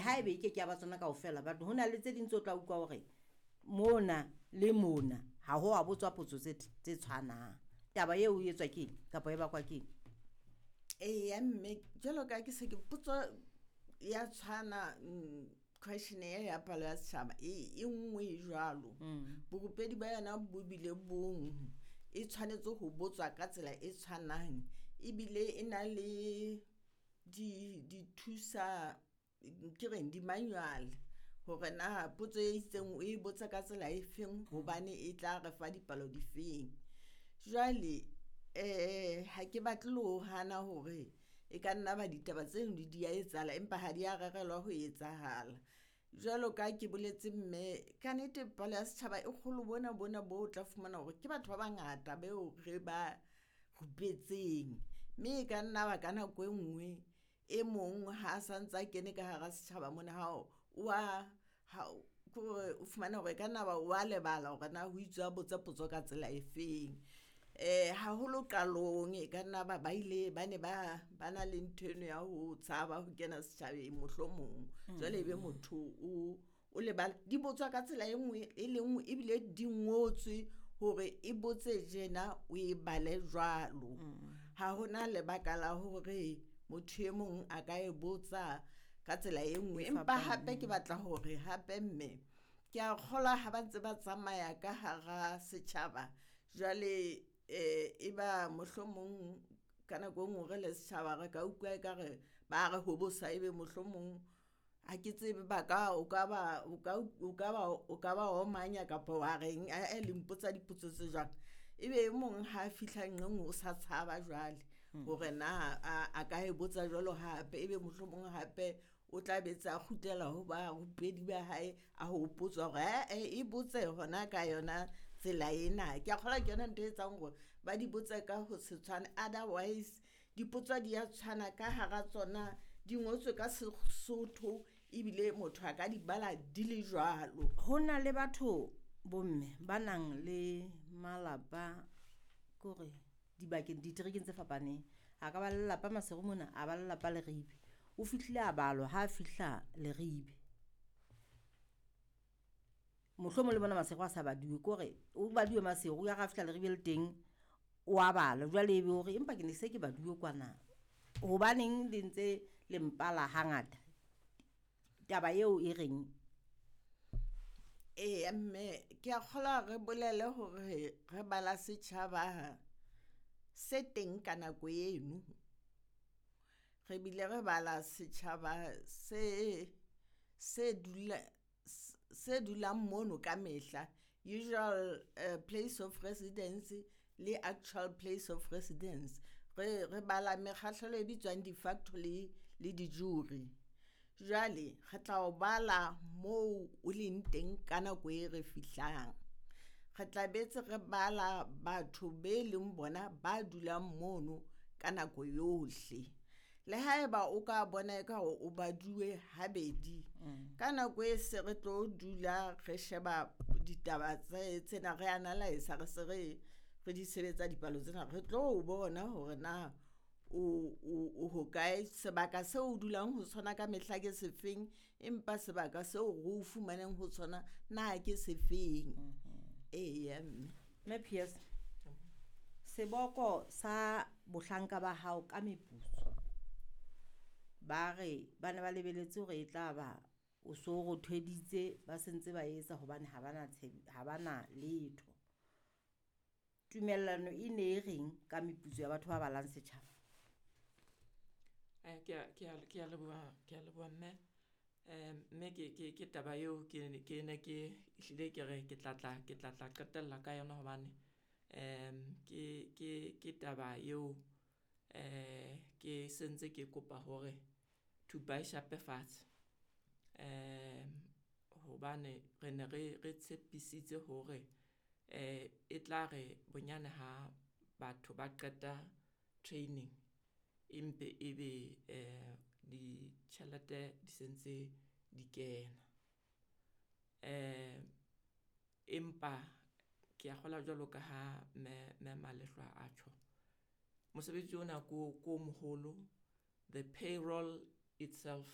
haebe e ke ke ya ba tsona kaofela, but ho na le tse ding tse o tla utlwa hore mona le mona ha ho a botswa potso tse tshwanang. Taba eo e etswa keng kapa e bakwa keng? Eya mme, jwalo ka ke se ke potso ya tshwana, questionnaire ya palo ya setjhaba e nngwe jwalo. Borupedi ba yona bo bile bong, e tshwanetse ho botswa ka tsela e tshwanang, ebile e na le di thusa ke reng di-manual hore na potso e itseng o e botsa ka tsela e feng hobane e tla re fa dipalo difeng. Jwale ha ke batle le ho hana hore e ka nna ba ditaba tseno di a etsahala, empa ha di a rerelwa ho etsahala. Jwalo ka ke boletse mme, ka nnete palo ya setjhaba e kgolo bona bona bo o tla fumana hore ke batho ba bangata beo re ba rupetseng, mme e ka nna ba ka nako e nngwe e mong ha santsa kene ka hara setjhaba mona ke hore o fumana hore e ka nna ba wa lebala hore na ho itswe a botse potso ka tsela e feng. Haholo qalong e ka nna ba ile ba ne ba na le ntho eno ya ho tshaba ho kena setjhabeng mohlomong. Jwale ebe motho o lebala, di botswa ka tsela e nngwe e le nngwe ebile di ngotswe hore e botse tjena o e bale jwalo. Ha hona lebaka la hore motho e mong a ka e botsa ka tsela e nngwe. Empa hape ke batla hore hape mme ke a kgolwa ha ba ntse ba tsamaya ka hara setjhaba jwale, e ba mohlomong ka nako e nngwe re le setjhaba re ka utlwa ekare ba re hobosa, ebe mohlomong ha ke tsebe ba ka o ka ba o ka ba omanya kapa wa reng le mpotsa dipotso tse jwang. Ebe e mong ha fihla nqeng o sa tshaba jwale hore na a ka e botsa jwalo hape, ebe mohlomong hape o tla be tse a kgutlela ho barupedi ba hae a hopotswa hore e botse hona ka yona tsela ena. Ke a kgolwa ke yona ntho e etsang hore ba di botse ka ho se tshwane, otherwise dipotso di a tshwana ka hara tsona, di ngotswe ka Sesotho ebile motho a ka di bala di le jwalo. Ho na le batho bomme ba nang le malapa kore dibakeng diterekeng tse fapaneng. A ka ba lelapa Maseru mona, a ba lelapa Leribe. O fihlile a balwa ha fihla Leribe. Mohlomong le bona Maseru a sa baduwe, kore o baduwe Maseru ya ra fihla Leribe le teng o a bala. Jwale ebe hore empa ke ne se ke baduwe kwana. Hobaneng le ntse le mpala hangata? Taba eo e reng? Eya mme, ke a kgolwa re bolele hore re bala setjhaba se teng ka nako eno. Re bile re bala setjhaba se dulang mono ka mehla, usual place of residence le actual place of residence. Re bala mekgahlelo e bitswang de facto le de jure. Jwale re tla o bala moo o leng teng ka nako e re fihlang. Re tla betse re bala batho be leng bona ba dulang mono ka nako yohle. Le haeba o ka bona eka o baduwe habedi, ka nako e se re tlo dula re sheba ditaba tsena re analyse re se re di sebetsa dipalo tsena, re tlo bona hore na o hokae, sebaka seo o dulang ho sona ka mehla ke sefeng, empa sebaka seo re o fumaneng ho sona na ke sefeng. Eya mme. Mme PS, seboko sa bohlanka ba hao ka meputso, ba re ba ne ba lebeletse hore e tla ba o so rothweditse, ba sentse ba etsa hobane ha bana letho. Tumellano e ne e reng ka meputso ya batho ba balang setjhaba? Ke a leboha mme. Mme ke taba eo ke ne ke ehlile ke re ke tla tla qetella ka yona hobane ke taba eo ke sentse ke kopa hore thupa e shape fatshe. Hobane re ne re tshepisitse hore e tla re bonyane ha batho ba qeta training empe ebe ditjhelete di sentse di kena. Empa ke a kgolwa jwalo ka ha mme Malehlwa a tjho, mosebetsi ona ko moholo, the payroll itself